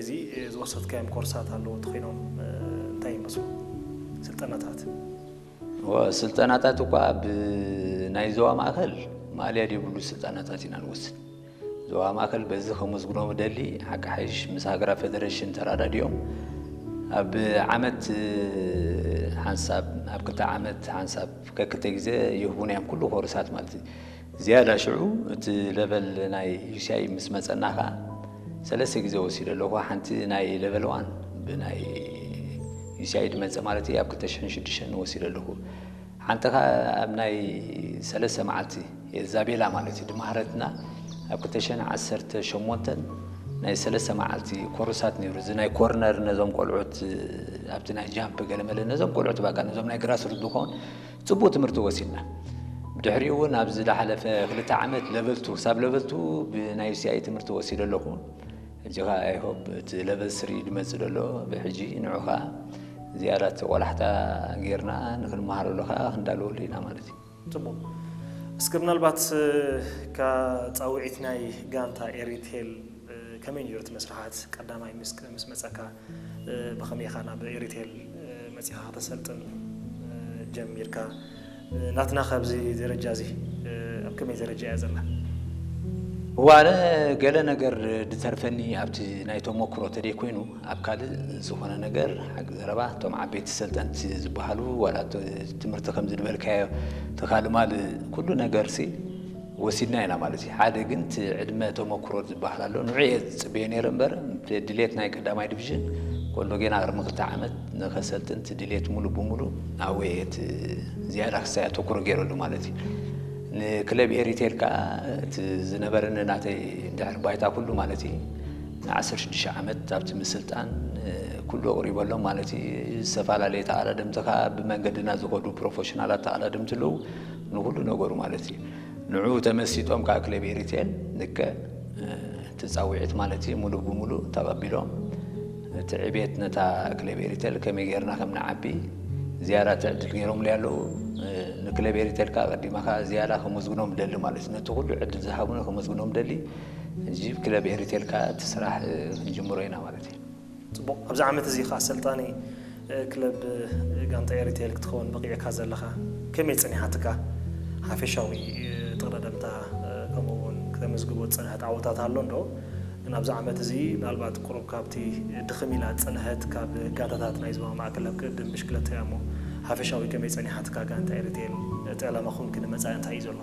እዚ ዝወሰድካዮም ኮርሳት ኣለዉ ተኾይኖም እንታይ ይመስሉ ስልጠናታት? ስልጠናታት እኳ ኣብ ናይ ዞባ ማእከል ማልያ ዘይብሉ ስልጠናታት ኢና ንወስድ። ዞባ ማእከል በዚ ከመስግኖም ደሊ ሓቂ ሓይሽ ምስ ሃገራ ፌደሬሽን ተራዳዲኦም ኣብ ዓመት ሓንሳብ ኣብ ክልተ ዓመት ሓንሳብ ከክልተ ግዜ ይህቡና እዮም ኩሉ ኮርሳት ማለት እዩ። ዝያዳ ሽዑ እቲ ለቨል ናይ ዩሲኣይ ምስ መጸና ኸዓ ሰለስተ ግዜ ወሲደ ኣለኹ። ሓንቲ ናይ ለቨል ዋን ብናይ ዩሲኣይ ድመጸ ማለት እዩ ኣብ ክልተ ሽሕን ሽዱሽተን ወሲደ ኣለኹ። ሓንቲ ኸዓ ኣብ ናይ ሰለስተ መዓልቲ የዛቤላ ማለት እዩ ድማህረትና ኣብ ክልተ ሽሕን ዓሰርተ ሸሞንተን ናይ ሰለስተ መዓልቲ ኮርሳት ነይሩ። እዚ ናይ ኮርነር ነዞም ቆልዑት ኣብቲ ናይ ጃምፕ ገለመለ ነዞም ቆልዑት ባቃ ነዞም ናይ ግራስ ሩት ዝኾን ጽቡቅ ትምህርቲ ወሲድና። ብድሕሪኡ እውን ኣብዚ ዝሓለፈ ክልተ ዓመት ለቨል ቱ ክሳብ ለቨል ቱ ብናይ ዩሲኣይ ትምህርቲ ወሲደ ኣለኹ። ሕጂ ኸዓ ኣይሆብ እቲ ለቨል ስሪ ድመጽእ ዘሎ ብሕጂ ንዑ ኸዓ ዝያዳ እቲ ቆላሕታ ጌርና ንክንመሃረሉ ኸዓ ክንዳለወሉ ኢና ማለት እዩ። ጽቡቅ። እስከ ምናልባት ካብ ጻውዒት ናይ ጋንታ ኤሪቴል ከመይ ነይሩ እቲ መስርሓት? ቀዳማይ ምስ ምስ መጸካ ብኸመይ ኢኻ ናብ ኤሪቴል መጺኻ ከተሰልጥን ጀሚርካ? ናትና ካብዚ ደረጃ እዚ ኣብ ከመይ ደረጃ እያ ዘላ? ዋለ ገለ ነገር ድተርፈኒ ኣብቲ ናይ ተመክሮ ተደይ ኮይኑ ኣብ ካልእ ዝኾነ ነገር ሓቂ ዘረባ እቶም ዓበይቲ ሰልጠንቲ ዝበሃሉ ዋላ እቲ ትምህርቲ ከም ዝድበልካዮ ተኻልማል ኩሉ ነገር ሲ ወሲድና ኢና ማለት እዩ። ሓደ ግን እቲ ዕድመ ተመክሮ ዝበሃል ኣሎ ንዑ እየ ዝፅበዮ ነይረ እምበር ድሌት ናይ ቀዳማይ ዲቪዥን ከሎ ጌና ቅድሚ ክልተ ዓመት ንኸሰልጥን እቲ ድሌት ሙሉ ብሙሉ ኣብየ እቲ ዝያዳ ክሳይ ኣተኩሮ ገይረሉ ማለት እዩ። ንክለብ ኤሪቴል ከዓ እቲ ዝነበረኒ ናተይ እንድሕር ባይታ ኩሉ ማለት እዩ ን15 ዓመት ኣብቲ ምስልጣን ኩሉ ኣቕሪበሎም ማለት እዩ። ዝተፈላለየ ተቐዳደምቲ ከዓ ብመንገድና ዝኸዱ ፕሮፌሽናላት ተቐዳደምቲ ኣለዉ ንኩሉ ነገሩ ማለት እዩ። ንዑ ተመሲጦም ከዓ ክለብ ኤሪቴል ንከ እቲ ፃውዒት ማለት እዩ ሙሉ ብሙሉ ተቐቢሎም እቲ ዕቤት ነታ ክለብ ኤሪቴል ከመይ ጌርና ከም ንዓቢ ዝያዳ እቲ ዕድል ገይሮምለይ ኣለዉ። ንክለብ ኤሪቴል ከዓ ቀዲማ ከዓ ዝያዳ ከመስግኖም ደሊ ማለት እዩ። ነቲ ኩሉ ዕድል ዝሃቡና ከመስግኖም ደሊ። ሕጂ ክለብ ኤሪቴል ከዓ እቲ ስራሕ ክንጅምሮ ኢና ማለት እዩ። ጽቡቕ። ኣብዚ ዓመት እዚ ከዓ ኣሰልጣኒ ክለብ ጋንታ ኤሪቴል ክትኸውን በቒዕካ ዘለኻ ከመይ ጸኒሓትካ? ሓፈሻዊ ተቐዳደምታ ከምኡ እውን ክተመዝግቦ ዝጸንሐት ዓወታት ኣሎ እንዶ? ግን ኣብዚ ዓመት እዚ ምናልባት ቁሩብ ካብቲ ድኽም ኢላ ዝጸንሐት ካብ ጋንታታት ናይ ዞባ ማእከል ኣብ ቅድድም ብሽክለታ እያ እሞ ሓፈሻዊ ከመይ ጸኒሓትካ ጋንታ ኤሪቴል? እቲ ዕላማኹም ግን መጻኢ እንታይ እዩ ዘሎ?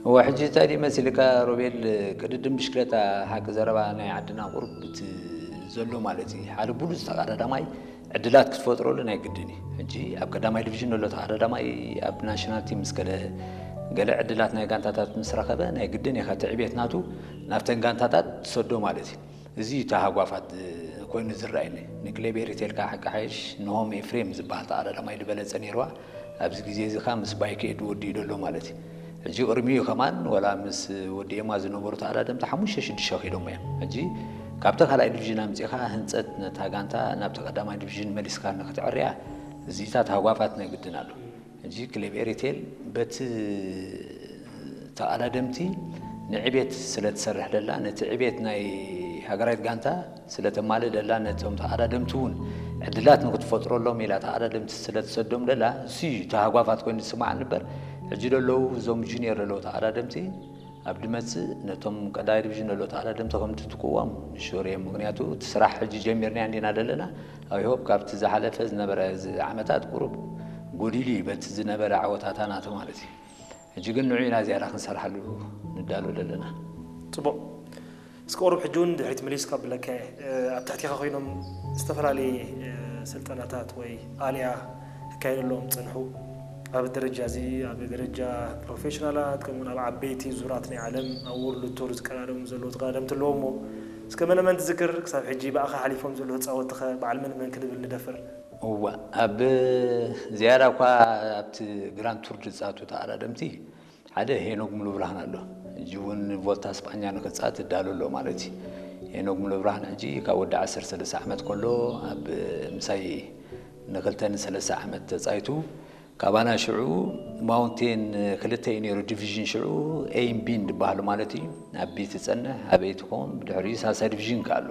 እወ ሕጂ እንታይ ድዩ መሲልካ ሮቤል ቅድድም ብሽክለታ ሓቂ ዘረባ ናይ ዓድና ቁሩብ እቲ ዘሎ ማለት እዩ ሓደ ብሉፅ ተቐዳዳማይ ዕድላት ክትፈጥረሉ ናይ ግድን እዩ። ሕጂ ኣብ ቀዳማይ ዲቪዥን ዘሎ ተቐዳዳማይ ኣብ ናሽናል ቲም ምስ ከደ ገለ ዕድላት ናይ ጋንታታት ምስ ረኸበ ናይ ግድን ኢኻ ትዕቤት ናቱ ናብተን ጋንታታት ትሰዶ ማለት እዩ። እዚ እዩ ተሃጓፋት ኮይኑ ዝረኣየኒ። ንክለብ ኤሪቴል ከዓ ሓቂ ሓይሽ ንሆም ኤፍሬም ዝበሃል ተቐዳዳማይ ዝበለፀ ነይርዋ። ኣብዚ ግዜ እዚ ከዓ ምስ ባይከ ኤዱ ወዲኡ ዘሎ ማለት እዩ። ሕጂ ቅድሚኡ ከማን ወላ ምስ ወዲኤማ ዝነበሩ ተቐዳደምቲ ሓሙሽተ ሽዱሽተ ከይዶም እዮም። ሕጂ ካብቲ ካልኣይ ዲቪዥን ኣምፂእኻ ህንፀት ነታ ጋንታ ናብቲ ቀዳማይ ዲቪዥን መሊስካ ንክትዕርያ እዚታት ሃጓፋት ናይ ግድን ኣሎ። ሕጂ ክለብ ኤሪቴል በቲ ተቐዳደምቲ ንዕቤት ስለ ትሰርሕ ደላ ነቲ ዕቤት ናይ ሃገራዊት ጋንታ ስለ ተማልእ ደላ ነቶም ተቐዳደምቲ እውን ዕድላት ንክትፈጥረሎም ኢላ ተቐዳደምቲ ስለ ትሰዶም ደላ እሱ እዩ ተሃጓፋት ኮይኑ ዝስማዕ ንበር ሕጂ ደለዉ እዞም ጁኒየር ደለዉ ተቐዳደምቲ ኣብ ድመፅእ ነቶም ቀዳይ ዲቪዥን ደለዉ ተቐዳደምቲ ከም ትትቅዎም ንሹር እዮም። ምክንያቱ እቲ ስራሕ ሕጂ ጀሚርና እንዲና ደለና ኣይሆብ ካብቲ ዝሓለፈ ዝነበረ ዓመታት ቁሩብ ጎዲሉ እዩ በቲ ዝነበረ ዓወታታ ናተ ማለት እዩ። ሕጂ ግን ንዑ ኢና ዝያዳ ክንሰርሓሉ ንዳሎ ዘለና። ፅቡቕ። እስከ ቁሩብ ሕጂ እውን ድሕሪት መሊስካ ብለካ ኣብ ትሕቲኻ ኮይኖም ዝተፈላለየ ስልጠናታት ወይ ኣልያ ክካየደሎም ዝፀንሑ ኣብ ደረጃ እዚ ኣብ ደረጃ ፕሮፌሽናላት ከምኡውን ኣብ ዓበይቲ ዙራት ናይ ዓለም ኣብ ወርልድ ቱር ዝቀዳደሙ ዘለዉ ተቀዳደምቲ ኣለዎ እሞ እስከ መነመን ትዝክር ክሳብ ሕጂ ብኣኻ ሓሊፎም ዘለዉ ተፃወትኸ በዓል መን መን ክንብል ንደፍር? እዋ ኣብ ዝያዳ እኳ ኣብቲ ግራንድ ቱር ዝፃቱ ተቐዳደምቲ ሓደ ሄኖክ ሙሉብርሃን ኣሎ። ሕጂ እውን ቮልታ ስጳኛ ንክፃት እዳሉ ኣሎ ማለት እዩ። ሄኖክ ሙሉብርሃን ሕጂ ካብ ወዲ ዓሰርተ ሰለስተ ዓመት ከሎ ኣብ ምሳይ ንክልተ ንሰለስተ ዓመት ተፃይቱ ካባና ሽዑ ማውንቴን ክልተ እዩ ነይሩ ዲቪዥን ሽዑ ኤይን ቢን ዝበሃሉ ማለት እዩ። ኣብ ቢ ትፀንሕ ኣበይ ትኸውን ብድሕሪኡ ሳልሳይ ዲቪዥን ከኣሎ